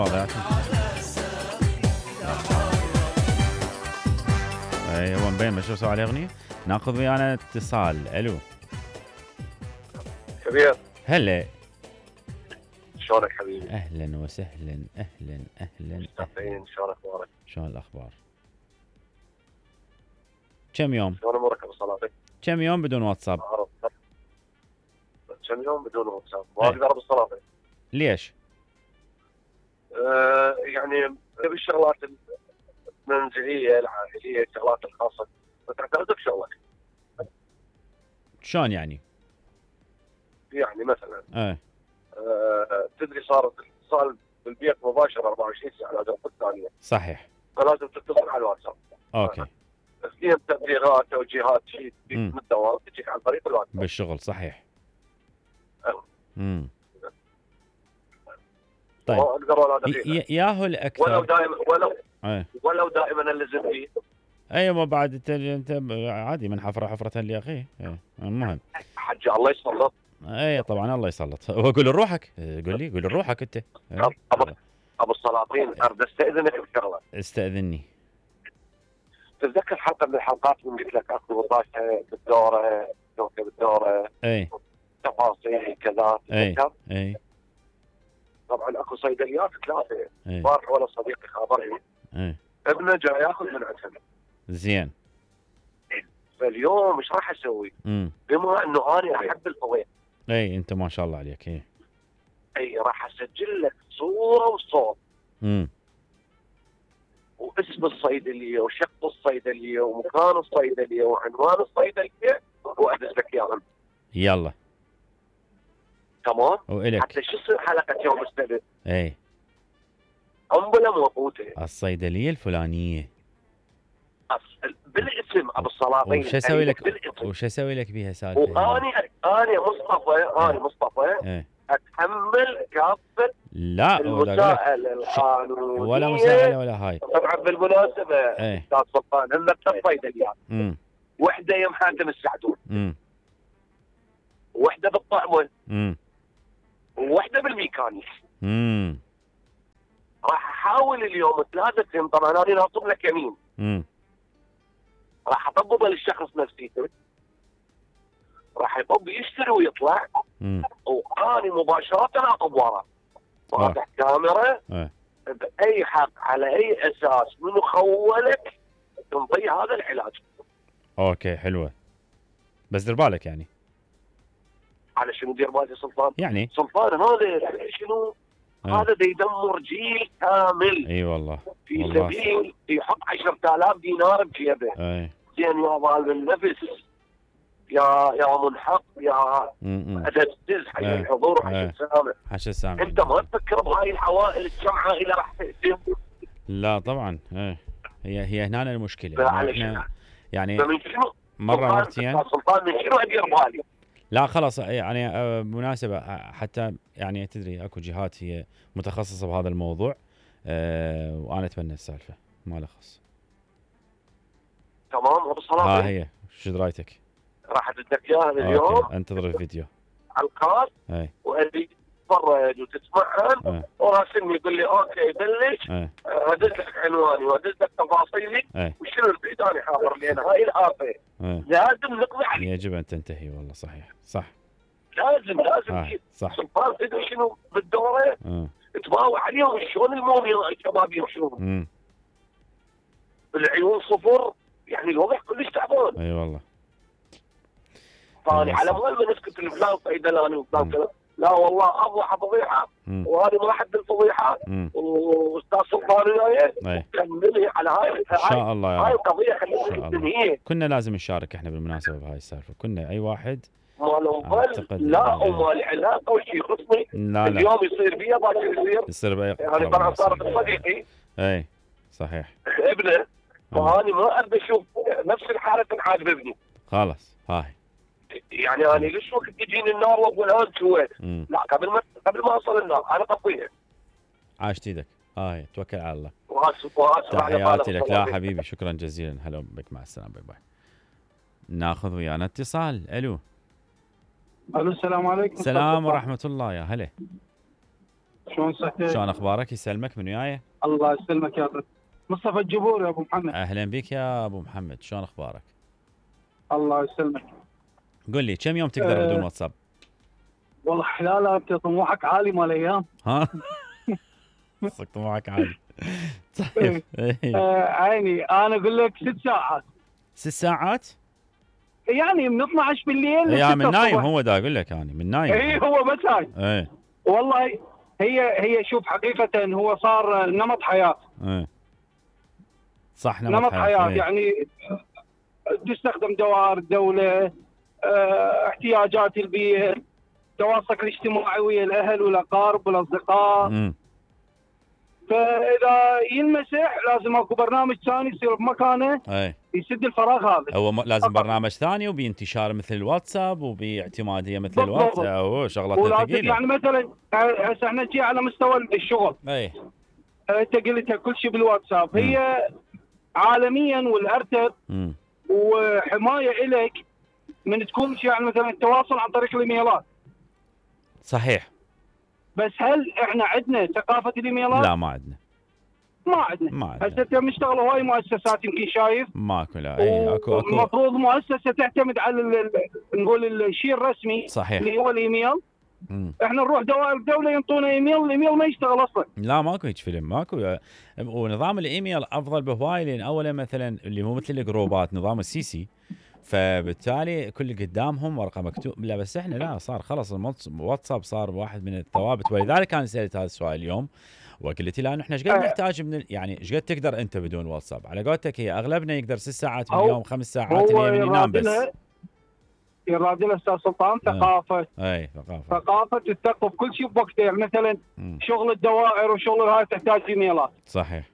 واضح. اي هو مبين شو سوى عليه اغنيه. ناخذ ويانا اتصال. الو كبير، هلا، شلونك حبيبي؟ اهلا وسهلا، اهلا اهلا مستقبلين، شلون اخبارك؟ شلون الاخبار؟ كم يوم؟ شلون امورك ابو صلاتك؟ كم يوم بدون واتساب؟ كم يوم بدون واتساب؟ ما اقدر ابو صلاتك. ليش؟ يعني بالشغلات المنزليه العائليه، الشغلات الخاصه، تعترض بشغلك. شلون يعني؟ يعني مثلا ايه تدري صار اتصال بالبيت مباشر 24 ساعه لا تنقل ثانيه. صحيح. فلازم تتصل على الواتساب. اوكي. تسليم تبليغات توجيهات شيء من الدوام تجيك عن طريق الواتساب. بالشغل صحيح. أه. طيب اقدر ولا دقيقه ياهو الاكثر ولو دائما الزم فيه. ايوه بعد انت عادي من حفره حفره لاخيه. المهم حج الله يسلط. اي طبعا الله يسلط. وقول لروحك، قول لروحك انت. ابو السلاطين، اريد استاذنك بشغله. استاذني. تتذكر حلقه من الحلقات من قلت لك اكو وظائف بالدوره، توكل بالدوره، اي تفاصيل كذا. اي طبعا اكو صيدليات ثلاثه. بارح ولا صديقي خابرني ابنه جاي ياخذ من عندهم. زين. فاليوم ايش راح اسوي؟ بما انه انا احب الفوائد. اي انت ما شاء الله عليك. اي راح اسجل لك صوره وصوت. واسم الصيدليه وشق الصيدليه ومكان الصيدليه وعنوان الصيدليه وادز لك اياهم. يلا تمام. وإلك حتى شو يصير حلقه يوم السبت؟ اي قنبله موقوته. الصيدليه الفلانيه بالاسم ابو السلاطين. وش اسوي لك؟ وش اسوي لك بيها سالفه؟ وانا مصطفى اتحمل كافه لا المساءله القانونيه ولا مساءله ولا هاي. طبعا بالمناسبه استاذ سلطان هم صيدليات. وحده يم حاتم السعدون، وحده بالطعمه، ووحده بالميكانيك. راح احاول اليوم ثلاثه. طبعا انا ناطر لك يمين. راح اطببه للشخص نفسيته، راح يطب يشتري ويطلع. واني مباشره اطب وراه فاتح كاميرا باي حق على اي اساس منو خولك تنطي هذا العلاج. اوكي حلوه، بس دير بالك يعني. على شنو دير بالي سلطان؟ يعني سلطان هذا شنو؟ هذا يدمر جيل كامل. اي والله في سبيل يحط 10,000 دينار بجيبه. زين يا ظالم النفس، يا منحق، يا ادبتز حق الحضور حق السامع. انت ما تفكر بهاي العوائل كم عائله راح تهدم؟ لا طبعا. هي هنا المشكله. يعني مره مرتين سلطان من شنو ادير بالي؟ لا خلاص يعني مناسبه حتى يعني تدري اكو جهات هي متخصصه بهذا الموضوع. وانا اتمنى السالفه ما له خص. تمام ابو صلاح. هي شو رايتك؟ راح ادزك اياها اليوم. انتظر الفيديو على الخاص واريد تتفرج وتسمعهم. وراسلني يقول لي اوكي بلش. ادز لك عنواني وادز لك تفاصيلي وشنو البعيد انا حاضر. لان هاي الافه لازم نقضي عليها. يجب ان تنتهي. والله صحيح صح. لازم صح. سلطان تدري شنو بالدوره؟ تباوع عليهم شلون الموميا الشباب يمشون. العيون صفر، يعني الوضع كلش تعبان. اي والله. ثاني على مال ما نسكت الفلان صيدلاني وفلان كذا. لا والله افضح فضيحه، وهذه ما احد الفضيحه. واستاذ سلطان وياي كملي على هاي ان شاء الله. هاي القضيه خلينا ننهيها. كنا لازم نشارك احنا بالمناسبه بهاي السالفه. كنا اي واحد ما له لا وما له علاقه وشيء يخصني. اليوم يصير بيا باكر يصير بيا. يعني طبعا صارت صديقي. اي صحيح. ابنه. فاني ما اريد اشوف نفس الحاله تنحاج بابني. خلاص هاي يعني انا ليش وقت تجيني النار واقول هان سويت؟ لا قبل ما اوصل النار انا طفيها. عاشت ايدك. هاي توكل على الله. واسف تحياتي لك. لا حبيبي شكرا جزيلا. هلا بك، مع السلامه. باي باي. ناخذ ويانا اتصال. الو السلام عليكم. السلام ورحمه الله. يا هلا. شلون صحتك؟ شلون اخبارك؟ يسلمك، من وياي؟ الله يسلمك يا رب. مصطفى الجبور يا ابو محمد. اهلا بك يا ابو محمد، شلون اخبارك؟ الله يسلمك. قل لي كم يوم تقدر بدون واتساب؟ والله حلاله انت طموحك عالي مال ايام. ها؟ صدق طموحك عالي. طيب. عيني انا اقول لك 6 ساعات. 6 ساعات؟ يعني من 12 بالليل يا من نايم هو دا اقول لك يعني من نايم. اي هو بس هاي. اي والله هي شوف حقيقه هو صار نمط حياه. اي صح نمط حياه يعني تستخدم دوائر الدوله، احتياجات البيئه، تواصلك الاجتماعي ويا الاهل والاقارب والاصدقاء. فاذا ينمسح لازم اكو برنامج ثاني يصير بمكانه يسد الفراغ هذا. هو لازم برنامج ثاني وبانتشار مثل الواتساب وباعتماديه مثل الواتساب. هو شغلات ثقيله. يعني مثلا هسه احنا نجي على مستوى الشغل. انت قلتها كل شيء بالواتساب. هي عالميا والارتب وحمايه لك من تكون يعني مثلا التواصل عن طريق الايميلات. صحيح. بس هل احنا عندنا ثقافه الايميلات؟ لا ما عندنا. هسه انت مشتغل هواي مؤسسات يمكن شايف ماكو. لا اكو المفروض مؤسسه تعتمد على نقول الشيء الرسمي. صحيح. اللي هو الايميل. احنا نروح دوائر الدوله ينطونا ايميل، الايميل ما يشتغل اصلا. لا ماكو هيك فيلم، ماكو. ونظام الايميل افضل بهواي، لان اولا مثلا اللي مو مثل الجروبات نظام السي فبالتالي كل قدامهم ورقه مكتوب. لا بس احنا لا، صار خلص الواتساب صار واحد من الثوابت. ولذلك انا سالت هذا السؤال اليوم وقلت له احنا ايش قد نحتاج من يعني ايش قد تقدر انت بدون واتساب؟ على قولتك هي اغلبنا يقدر 6 ساعات باليوم 5 ساعات اليوم ينام بس. يراد لها استاذ سلطان ثقافه. ثقافه تثقف كل شيء بوقته. يعني مثلا شغل الدوائر وشغل هاي تحتاج ايميلات. صحيح.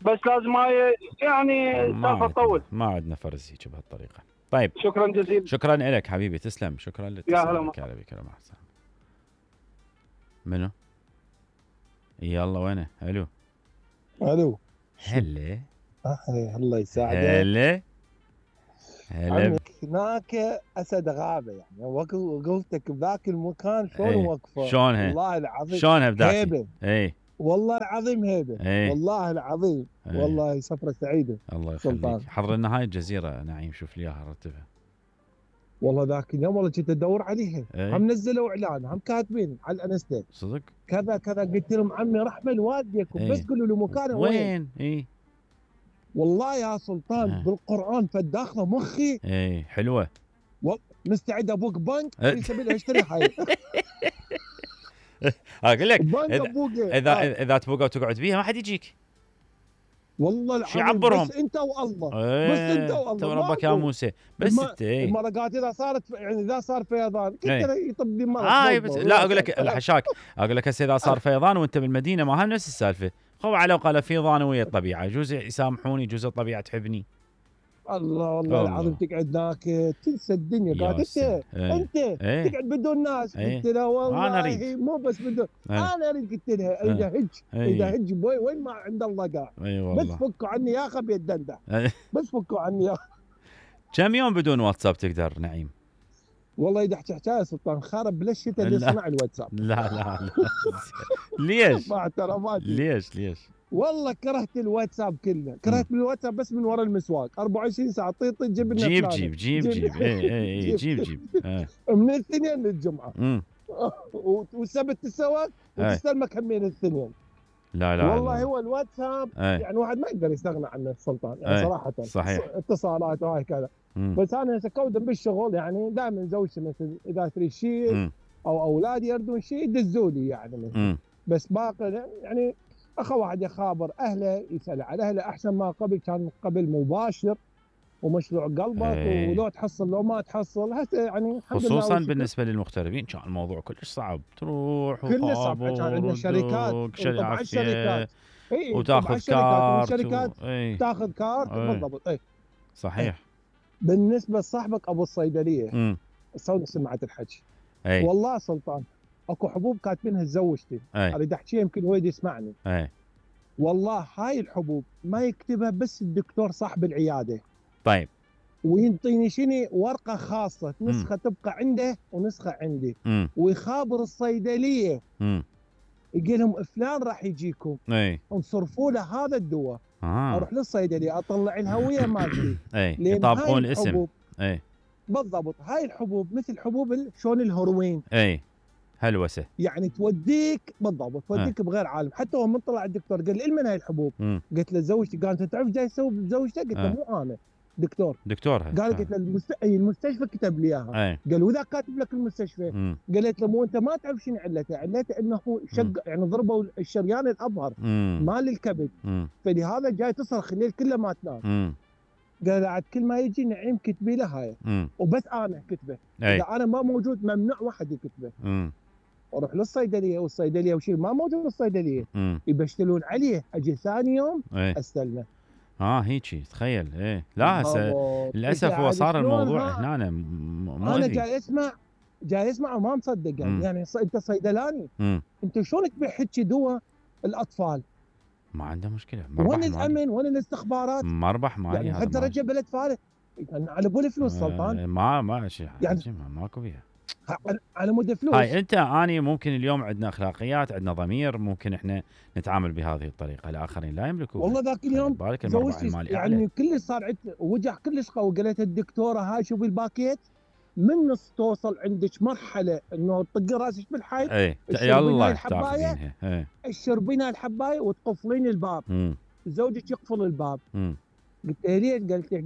بس لازم هاي يعني سالفه تطول. ما عندنا فرز هيك بهالطريقه. طيب شكرا جزيلا. شكرا لك حبيبي، تسلم. شكرا لك. يا هلا. هلا بك. مع السلامه. منو؟ يلا وينه؟ الو. هلا. الله يساعدك. هلا. هناك اسد غابه يعني وقفتك بذاك المكان شلون وقفه؟ شلونها؟ والله العظيم شلونها بداك؟ هيبه. والله العظيم هيبه. والله العظيم. والله سفره سعيده. الله يخليك. حضر لنا هاي الجزيره نعيم، شوف لي اياها رتبها. والله ذاك اليوم والله كنت ادور عليها. هم نزلوا اعلان، هم كاتبين على الانستا صدق كذا كذا. قلت لهم عمي رحمه والديكم بس قولوا لي مكانه وين. والله يا سلطان بالقران فداخله مخي. حلوه. مستعد ابوك بنك في سبيل اشتري حي. اقول لك اذا تبوق وتقعد بيها ما حد يجيك. والله العظيم يعبرهم. بس انت والله. بس انت والله. ربك يا موسى. بس انت المرقات اذا صارت يعني اذا صار فيضان كنت يطب لي مرض. بس لا اقول لك الحشاك، اقول لك هسه اذا صار فيضان وانت بالمدينه ما هم نفس السالفه. خو على الاقل فيضان ويا الطبيعه، يجوز يسامحوني، يجوز الطبيعه تحبني. الله والله العظيم تقعد هناك تنسى الدنيا. قاعد انت تقعد بدون ناس. قلت له والله انا اريد مو بس بدون انا اريد. قلت لها اذا هج بوي وين ما عند الله قاع. بس فكوا عني يا اخي بيدندح. بس فكوا عني يا كم يوم بدون واتساب تقدر نعيم؟ والله اذا احكي حكايه سلطان خرب بالشتاء اللي صنع الواتساب. لا ليش؟ مع احتراماتي. ليش؟ والله كرهت الواتساب كله. كرهت الواتساب بس من ورا المسواق 24 ساعه طيط جيب لنا جيب جيب من الاثنين للجمعه. والسبت تسوى وتستلمك همين الاثنين. لا والله هو الواتساب يعني واحد ما يقدر يستغنى عنه السلطان يعني صراحه. صحيح. اتصالات وهاي كذا. بس انا هسه كودا بالشغل يعني دائما زوجتي مثل اذا تريد شيء او اولادي يردون شيء يدزوا لي يعني بس باقي يعني اخو واحد يخابر اهله يسال على اهله احسن ما قبل. كان قبل مباشر ومشروع قلبك ولو تحصل لو ما تحصل. هسه يعني خصوصا بالنسبه للمغتربين كان الموضوع كلش صعب. تروح وخابر كان عندنا شركات طبعا شركات وتاخذ كارت شركات تاخذ كارت بالضبط. صحيح. بالنسبه لصاحبك ابو الصيدليه سوي سمعت الحكي. والله سلطان اكو حبوب كاتبينها زوجتي. اريد احكيها يمكن هو يسمعني. والله هاي الحبوب ما يكتبها بس الدكتور صاحب العياده. طيب. وينطيني شنو ورقه خاصه نسخه تبقى عنده ونسخه عندي. ويخابر الصيدليه يقول لهم فلان راح يجيكم انصرفوا له هذا الدواء. اروح للصيدليه اطلع الهويه مالتي يطابقون الاسم. بالضبط. هاي الحبوب مثل حبوب شلون الهيروين، هلوسه يعني توديك بالضبط، توديك بغير عالم. حتى هو من طلع الدكتور قال لي من هاي الحبوب؟ قلت له زوجتي. قال انت تعرف جاي تسوي بزوجتك؟ قلت له مو انا دكتور. قال قلت له المستشفى كتب لي اياها. قال واذا كاتب لك المستشفى؟ قالت له مو انت ما تعرف شنو علته انه يعني ضربوا الشريان الابهر مال الكبد، فلهذا جاي تصرخ الليل كله ما تنام. قال عاد كل ما يجي نعيم كتبي له هاي وبس انا كتبه، اذا انا ما موجود ممنوع واحد يكتبه. اروح للصيدليه والصيدليه وشيء ما موجود بالصيدليه يبشتلون عليه، اجي ثاني يوم استلمه. هيجي تخيل. لا هسه للاسف هو صار الموضوع هنا مؤذي. انا جاي اسمع وما مصدق يعني انت صيدلاني انت شلون تبيع هيك دواء الاطفال؟ ما عنده مشكله. وين الامن؟ وين الاستخبارات؟ مربح مالي يعني حتى رجع بلد فارغ يعني على بول فلوس سلطان. ما شيء يعني ماكو بيها على مود فلوس. هاي اني ممكن اليوم عندنا اخلاقيات، عندنا ضمير، ممكن احنا نتعامل بهذه الطريقه، الاخرين لا يملكون. والله ذاك اليوم زوجتي يعني كلش صار وجع كلش قوي. قالت الدكتوره هاي شوفي الباكيت من نص توصل عندك مرحله انه تطقي راسك بالحيط. يلا تاخذينها. تشربين هاي الحبايه وتقفلين الباب. زوجك يقفل الباب. قلت له ليش؟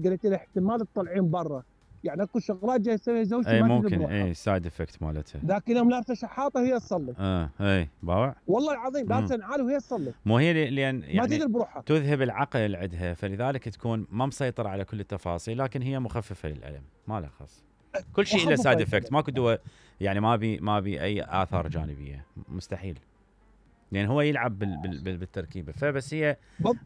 قالت له احتمال تطلعين برا، يعني اكو شغلات جاي تسويها زوجتي ما ممكن سايد افكت مالتها. ذاك اليوم لابسه شحاطه هي تصلي. باوع والله العظيم لابسه نعال وهي تصلي. مو هي لان يعني ما تدري بروحها تذهب العقل عندها، فلذلك تكون ما مسيطره على كل التفاصيل، لكن هي مخففه للالم، ما لها خص. كل شيء له سايد افكت، ماكو دواء يعني ما بي اي اثار جانبيه، مستحيل. لان هو يلعب بالتركيبه. فبس هي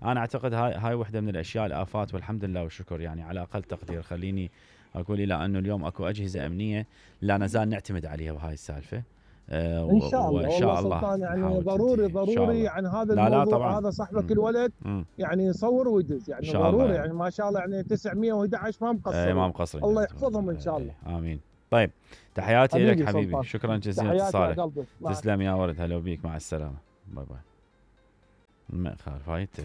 انا اعتقد هاي وحده من الاشياء الافات، والحمد لله والشكر يعني على اقل تقدير. خليني اقول الى انه اليوم اكو اجهزه امنيه لا نزال نعتمد عليها بهاي السالفه. ان شاء الله. وان شاء الله يعني ضروري يعني هذا الموضوع. هذا صاحبك الولد يعني يصور ويدز يعني ضروري يعني ما شاء الله يعني 911 ما مقصر. ما مقصرين. الله يحفظهم ان شاء الله. امين. طيب تحياتي لك حبيبي، شكرا جزيلا لاتصالك. تسلم يا ولد، هلا بيك، مع السلامه، باي باي. ما خالف هاي انت